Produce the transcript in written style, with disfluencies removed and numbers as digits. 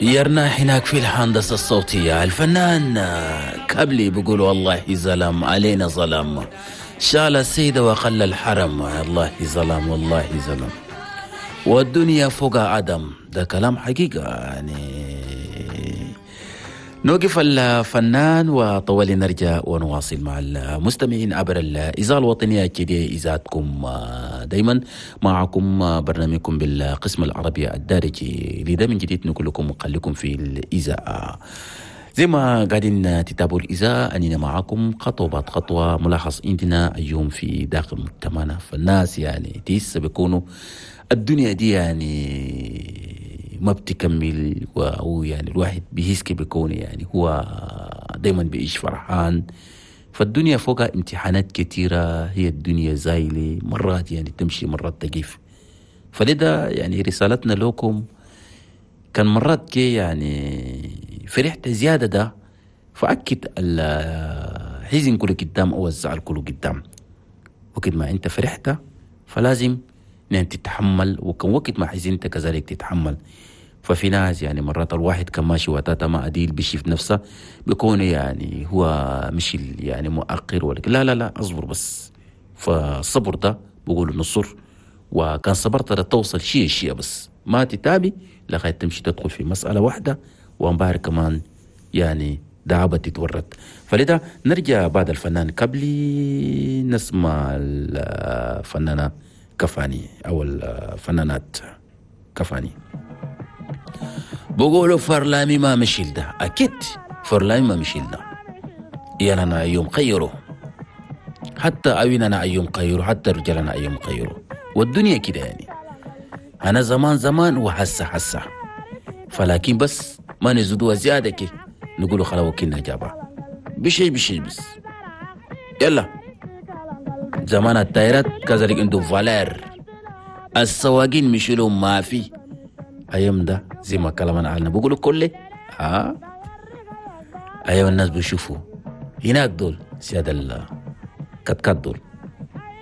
يرنا هناك في الهندسة الصوتية الفنان كبلي بيقول والله ظلم علينا ظلم، شال السيدة وخلى الحرم، والله ظلم والله ظلم، والدنيا فوق عدم. ده كلام حقيقة يعني. نوقف الفنان وطوالي نرجع ونواصل مع المستمعين عبر الإذاعة الوطنية كده إذاعتكم دايما معكم برنامجكم بالقسم العربي الدارجي. لذا من جديد نقول لكم خليكم في الإذاعة زي ما قاعدين تتابعوا الإذاعة، أننا معكم خطوة بعد خطوة. ملاحظ عندنا اليوم في داخل مجتمعنا فالناس يعني تيس بيكونوا الدنيا دي يعني ما بتكمل، وهو يعني الواحد بيهسك بيكون يعني هو دايما بيعيش فرحان. فالدنيا فوقها امتحانات كثيرة، هي الدنيا زايلة، مرات يعني تمشي مرات تقف. فلذا يعني رسالتنا لكم كان مرات كي يعني فرحت زيادة ده، فأكد الحزن كله قدام أو الزعل كله قدام. وقت ما أنت فرحت فلازم أن تتحمل، وكان وقت ما حزنت كذلك تتحمل. ففي ناس يعني مرات الواحد كان ماشي وتاتا ما أديل بيشوف نفسه بيكون يعني هو مش يعني مؤخر ولا لا لا لا أصبر بس. فالصبر ده بقول نصر، وكان صبرت توصل شيء شيء بس ما تتابي لغاية تمشي تدخل في مسألة واحدة وانبهر كمان يعني دعابة تتورط. فلذا نرجع بعد الفنان قبلي نسمع الفنانة كفاني أو الفنانات كفاني. بقولوا فرلامي ما مشيل ده، أكيد فرلامي ما مشيل ده، يعني أنا يوم خيره حتى أويننا أيوم خيره حتى رجالنا أيوم خيره، والدنيا كده يعني. أنا زمان زمان وحسة حسة، فلكن بس ما نزودوها زيادة كي نقولوا خلا وكنا جابها بشي بشي بس يلا. زمان التايرات كذلك عنده فالير، السواقين مشيلوا ما في أيام ده زي ما كلامنا علنا بيقولوا كله ها أيام الناس بيشوفوا هناك دول سيادة الكتكات دول.